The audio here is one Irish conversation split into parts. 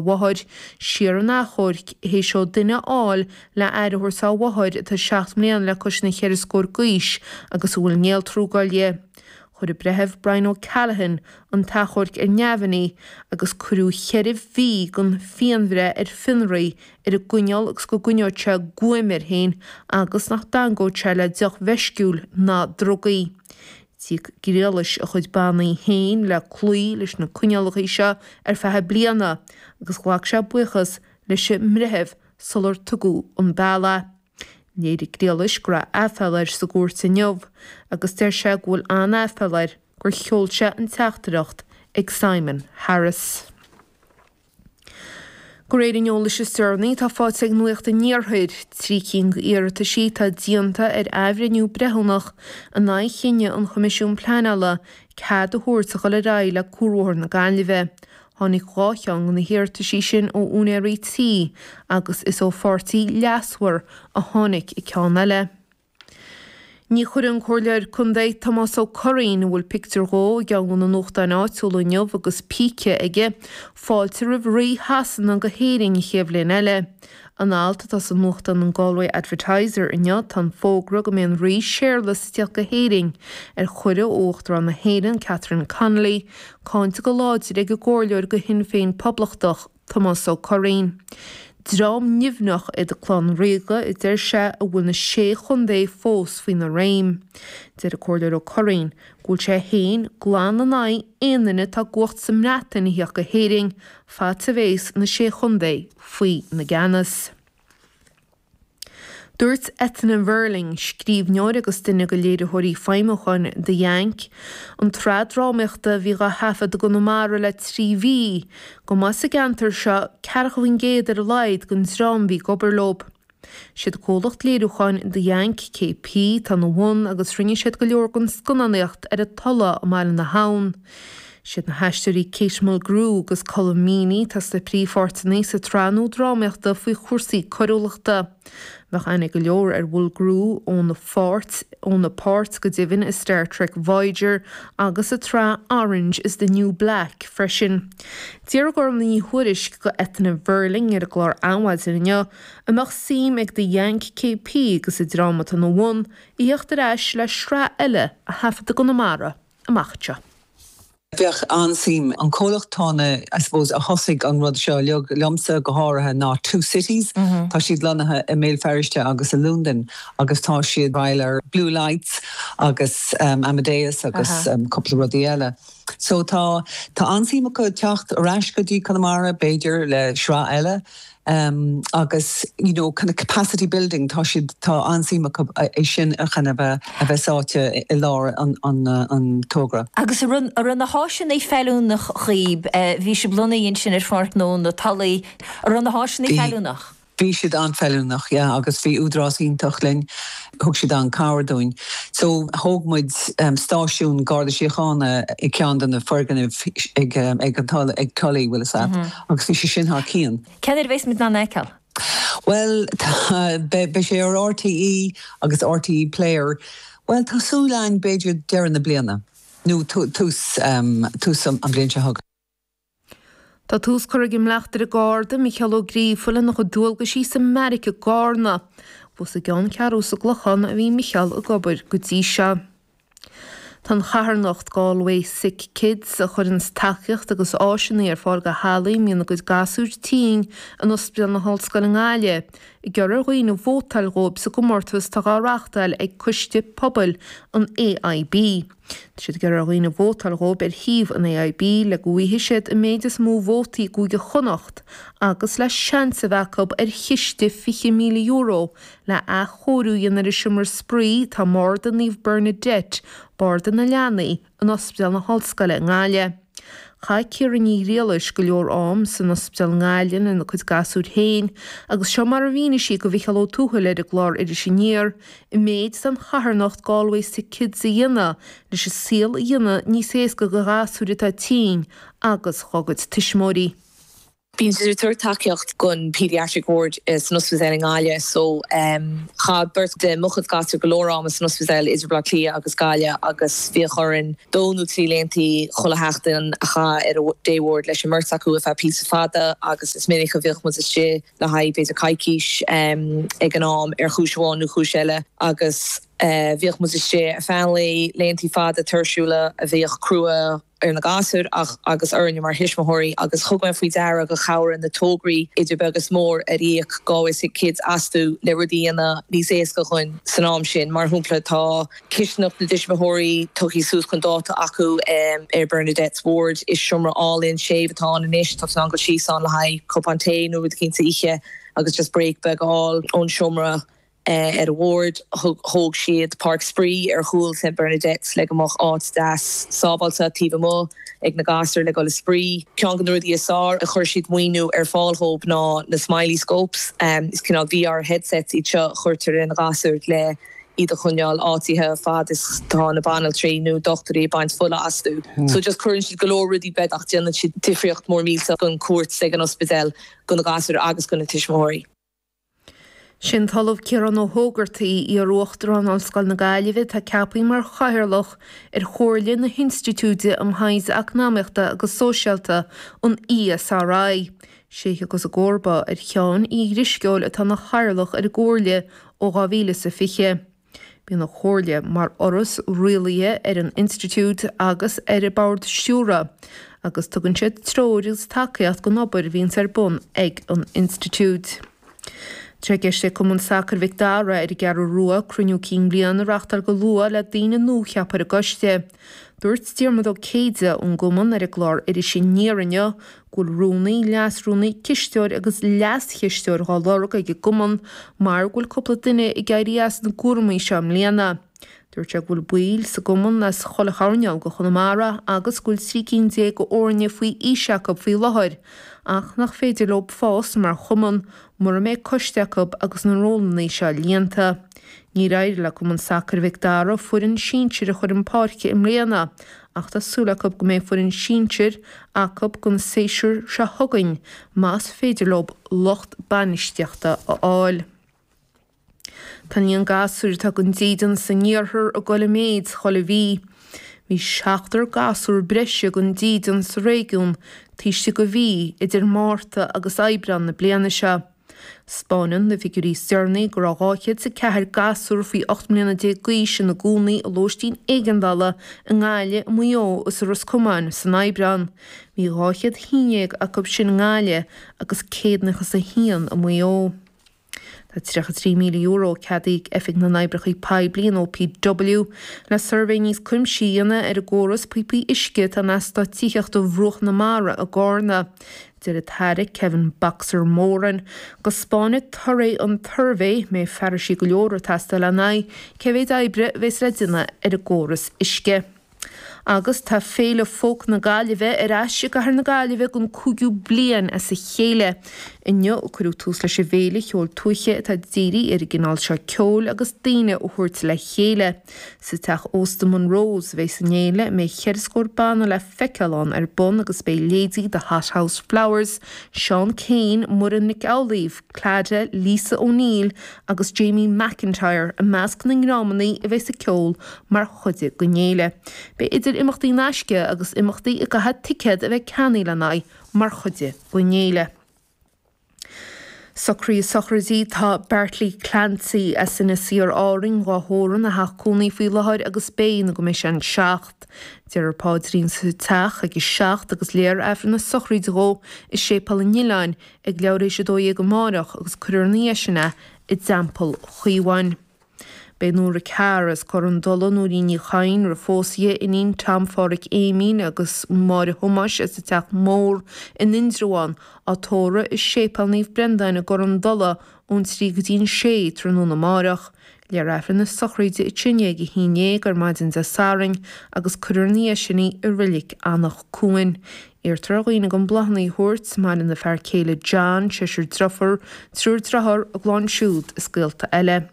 Mháthair siar an achomhairc théis dó duine a fháil le aire a thabhairt dá mháthair atá 7 mbliana le cois na cheithre scór d'aois agus a bhfuil néaltrúgáil di. Chuir an Breitheamh Brian O'Callaghan an t-achomharc ar neamhní agus cuireadh cheithre mhí den phianbhreith ar fionraí ar an gcoinníoll agus go gcoinneoidh sé guaim air féin agus nach dteagmhóidh sé le deoch mheisciúil ná drugaí. D'íoc Griallais a chuid bannaí féin le cloí leis na coinníollacha seo ar feadh bliana agus ghlac sé buíochas leis an mbreitheamh sular tugadh an bealach é. Léirigh Griallais go raibh aiféala air sa gcúirt inniu agus deir sé go bhfuil an-aiféala air gur sheol sé an teachtaireacht ag Simon Harris. De réir an eolais is deireanaí atá faighte ag Nuacht an Iarthair, 3 cinn d'iarrataisí atá déanta ar athbhreithniú breithiúnach in aghaidh chinneadh an Choimisiúin Pleanála cead a thabhairt a dhul ar aghaidh le Cuarbhóthar na Gaillimhe. Tháinig 2 cheann de na hiarrataisí sin ó úinéirí tí agus is ó pháirtí leasmhar a tháinig an ceann eile. Ní chuirfidh an Comhairleoir Contae Tomás Ó Curraoin, a bhfuil pictiúr dhó i gceann de na nuachtáin áitiúla inniu agus píce aige, fáilte roimh Rí Shasana go hÉirinn an chéad bhliain eile. In alt atá sa nuachtán an Galway Advertiser inniu tá an fógra go mbeidh an Rí Séarlas ag tíocht go hÉirinn, ar chuireadh ó Uachtarán na hÉireann Catherine Connolly, cáinte go láidir ag an gComhairleoir do Shinn Féin Poblachtach, Tomás Ó Curraoin. Dream nimhneach iad an clann ríoga, a deir sé, a bhfuil na Sé Chontae fós faoina réim. Deir an Comhairleoir Ó Curraoin go bhfuil sé féin glan in aghaidh aon duine atá i gcumhacht sa mBreatain a thíocht go hÉirinn fad 's a bhéas na Sé Chontae faoi na gceannas. Dúirt Eithne Verling, scríbhneoir agus duine de léiritheoirí feidhmiúcháin The Yank, an tsraith drámaíochta a bhí dhá thaifead i gConamara le 3 mhí, go mba as an gceantar seo 40% ar a laghad den dream a bhí ag obair leo. Siad comhlacht léiriúcháin The Yank KP atá ina bhun agus rinne siad go leor den scannánaíocht ar an Tulaigh i mBaile na hAbhann. Siad na haisteoirí Kate Mulgrew agus Colm Meaney atá sna príomhpháirteanna sa tsraith nua drámaíochta faoi chúrsaí coiriúlachta. Bheadh aithne ag go leor ar Mhulgrew óna pháirt, óna páirt go deimhin i Star Trek Voyager agus sa tsraith Orange is the New Black freisin. D'fhiafraigh Orla Ní Thuairisg de Eithne Verling ar an gclár Adhmhaidin inniu an mbeadh suim ag The Yank KP agus an dream atá ina bhun a thíocht ar ais le sraith eile a thaifead i gConamara amach anseo. Bheadh an-suim. An comhlacht tá na, I suppose, a thosaigh an rud seo uilig, liomsa go háirithe, ná Two Cities. Tá siad lonnaithe i mBéal Feirste agus i Londain agus tá siad ag obair ar Blue Lights agus Amadeus agus cúpla rudaí eile. So tá, tá an-suim acu teacht ar ais go dtí Conamara, b'fhéidir, le sraith eile. Agus you know kind of capacity building, tá siad, tá an-suim acu é sin a kind of a bheith sáite i lár an an togra. Agus an raibh, an raibh na háiseanna feiliúnach dhaoib, bhí sibh lonnaithe ansin ar Pháirc Gnó na Tulaí, an raibh na háiseanna feiliúnach? Bhí siad an-fheiliúnach, yeah, agus bhí údarás iontach linn, thug siad an-cabhair dúinn. So thóg muid stáisiún Garda Síochána i gceann de na foirgnimh ag ag an Tulaigh, ag Tully, bhfuil fhios a't, agus bhí sé sin thar cionn. Cén uair a bheas muid in ann é a fheiceáil? Bhuel, tá, beidh sé ar RTÉ agus RTÉ Player, bhuel, tá súil againn b'fhéidir deireadh na bliana, nó tús, tús an bhliain seo chugainn. Tá tús curtha ag an mBleachtaire Garda, Micheál Ó Gríofa, lena chuid dualgaisí sa mbeairic i gCarna. Thuas i gceanncheathrú sa gClochán a bhí Micheál ag obair go dtí seo. Tá an charthanacht Galway Sick Kids, a chuireanns tacaíocht agus áiseanna ar fáil do theaghlaigh a mbíonn a gcuid gasúir tinn in Ospidéal na hOllscoile i nGaillimh, ag iarraidh ar dhaoine vótáil dhóibh sa gcomórtas atá á reáchtáil ag Coiste Pobail an AIB. Tá siad ag iarraidh ar dhaoine vótáil dhóibh ar shuíomh an AIB le go bhfaighidh siad an méid is mó vótaí i gCúige Chonnacht agus le seans a bheith acu ar chiste €20,000 le athchóiriú a dhéanamh ar an seomra spraoi atá i mBarda Naomh Bernadette, Barda na Leanaí, in Ospidéal na hOllscoile i nGaillimh. Chaith Ciara Ní Ghriallais go leor am san ospidéal i nGaillimh lena cuid gasúir féin agus seo mar a mhínigh sí do Mhicheál Ó Tuathail ar an gclár Iris Aniar an méid atá an charthanacht Galway Sick Kids a dhéanamh leis an saol a dhéanamh níos éasca do ghasúir atá tinn agus dhá gcuid tuismitheoirí. Bíonn siad ag tabhairt tacaíocht don Paediatric Ward san ospidéal i nGaillimh so chaith beirt de mo chuid gasúr go leor ama san ospidéal idir Baile Átha Cliath agus Gaillimh agus bhíodh orainn dó nó 3 laethanta chuile sheachtain a chaitheamh ar an day ward leis an mbeirt acu ar feadh píosa fada agus is minic a bhíodh muid istigh le haghaidh b'fhéidir coicís ag an am ar chúis amháin nó cúis eile agus bhíodh muid istigh ar feadh an lae, laethanta fada tuirsiúla a bhíodh crua. ar na gasúir ach agus orainne mar thuismitheoirí agus thug mé faoi deara gur chabhraigh na tograí idir beag is mór ar íoc Galway Sick Kids astu le rudaí a dhéanamh níos éasca dhúinn san am sin. Mar shampla tá cistineach na dtuismitheoirí tugtha suas chun dáta acu ar Bernadette's Ward. Is seomra álainn séimh atá ann anois, tá tú in ann dul síos ann le haghaidh cupán tae nó rud eicínt a ithe agus just break beag a fháil ón seomra. Ar an ward, thóg siad páirc spraoi ar chúl St Bernadette's le go mbeadh áit deas sábháilte taobh amuigh ag na gasúir le dul ag spraoi. Ceann de na rudaí is fearr a chuir siad maoiniú ar fáil dhóibh ná na Smiley Scopes. Is cineál VR headsets iad seo a chuirtear ar na gasúir le iad a choinneáil áitithe fad is tá na banaltraí nó dochtúirí ag baint fola astu. So just cuireann siad go leor rudaí beaga ach déanann siad difríocht mór millteach don cuairt ag an ospidéal do na gasúir agus do na tuismitheoirí. Sin an tOllamh Ciarán Ó hÓgartaigh, iar-Uachtarán Ollscoil na Gaillimhe atá ceaptha mar Chathaoirleach ar Chomhairle na hInstitiúide um Thaighde Eacnamaíochta agus Sóisialta, an ESRI. Sé a thiocfas i gcomharba ar Sheán Uí Dhrisceoil atá ina Chathaoirleach ar an gComhairle ó 2020. Bíonn an Chomhairle mar fhoras rialaithe ar an Institiúid agus ar a Bord Stiúrtha agus tugann siad treoir agus tacaíocht don obair a bhíonns ar bun ag an Institiúid. Tá sé i gceist ag Cumann Sacair Mhic Dara ar an gCeathrú Rua cruinniú cinn bliana a reachtáil go luath le daoine nua a cheapadh ar an gcoiste. Dúirt Diarmuid Ó Céide ón gcumann ar an gclár Iris Aniar inniu go bhfuil rúnaí, leasrúnaí, cisteoir agus leaschisteoir dhá lorg ag an gcumann mar go bhfuil cúpla duine ag éirí as na gcúramaí seo i mbliana. Dúirt sé go bhfuil baill sa gcumann as chuile choirneál de Chonamara agus go bhfuil 13 cinn d'fhoirne faoi aois acu faoi láthair ach nach féidir leo fás mar chumann mura mbeidh coiste acu agus na rólanna seo líonta. Níor éirigh le Cumann Sacair Mhic Dara foireann sinsir a chur chun páirce i mbliana ach tá súil acu go mbeidh foireann sinsir acu don séasúr seo chugainn más féidir leo lucht bainistíochta a fháil. Tá an líon gasúir atá gan dídean san iarthar ag dul i méid chuile mhí. Bhí seachtar gasúr breise gan dídean sa réigiún taobh istigh de mhí idir Márta agus Aibreán na bliana seo. 'Spáineann na figiúirí is deireanaí go raibh 204 gasúr faoi 18 mbliana d'aois ina gcónaí i lóistín éigeandála i nGaillimh, i Maigh Eo is i Ros Comáin san Aibreán. Bhí 211 acu sin i nGaillimh agus 191 i Maigh Eo. Tá €33,000 ceadaithe ag Oifig na nOibreacha Poiblí, an OPW, le suirbhé níos cuimsithí a dhéanamh ar an gcóras píopaí uisce atá in eastát tithíochta Bhruach na Mara i gCarna. Deir an tAire Kevin 'Boxer' Moran go 'spáinfidh torthaí an tsuirbhé mbeidh fearaisí go leor ag teastáil lena aghaidh cé mhéid oibre a bheas le déanamh ar an gcóras uisce. Agus tá Féile Folk na Gaillimhe ar ais i gcathair na Gaillimhe don cúigiú bliain as a chéile. Inniu a cuireadh tús leis an bhféile cheoil tuaithe atá dírithe ar an gcineál seo ceoil agus daoine a thabhairt le chéile. Sa teach ósta Monroe's a bheas an fhéile a mbeidh cheithre scór banna le feiceáil ann ar bun agus beidh leithéidí The Hothouse Flowers, Seán Keane, Muireann Nic Amhlaoibh, Clada, Lisa O'Neill agus Jamie McIntyre i measc na ndreamanna a bheas ag ceol mar chuid den fhéile. Beidh idir imeachtaí in aisce agus imeachtaí a gcaithfidh ticéad a bheith ceannaithe lena aghaidh mar chuid den fhéile. Socruithe sochraide Tá Bartley Clancy as Inis Oírr Árainn dhá thórramh ina theach cónaí faoi láthair agus beidh nó go mbeidh sé an 7. Déarfar paidrín sa teach ag a 7 agus léifear Aifreann na sochraide dhó i Séipéal an Oileáin ag leathuair théis 12 amárach agus cuirfear ina dhiaidh sin é i dTeampall Chaomháin. Beidh Nóra Carr as Cor an Dola, Nóirín Ní Chadhain, roimh phósadh di, iníon Tom Pháraic Éimín agus Máire Thomáis as an Teach Mór in Indreabhán, á tórramh i Séipéal Naomh Brendáin i gCor an Dola ón 3 go dtí an 6 tráthnóna amárach. Léifear Aifreann na sochraide ansin ag a 11 ar maidin Dé Sathairn agus cuirfear ina dhiaidh sin í i Reilig Anach Cuain. Iarrtar ar dhaoine gan bláthanna a thabhairt, maireann a fear céile John, seisear driofúr, triúr driotháir, a gclann siúd is gaolta eile.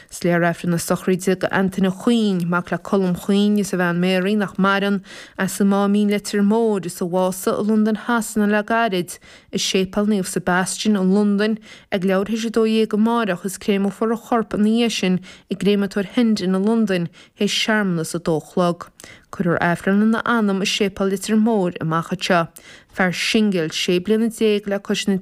Is léifear Aifreann na sochraide do Antaine Ó Cuinn, mac le Colm Cuinn is a bhean Mary, nach maireann, as an Máimín Leitir Móir, is a bhásaigh i Londain Shasana le gairid, i Séipéal Naomh Sebastian i Londain ag leathuair théis 12 amáireach is créamófar a chorp ina dhiaidh sin i gCréamatóir Hendon i Londain théis searmanas 2 a chlog. Cuirfear Aifreann lena anam i Séipéal Leitir Móir amach anseo. Fear singil, 16 bliana le cois na.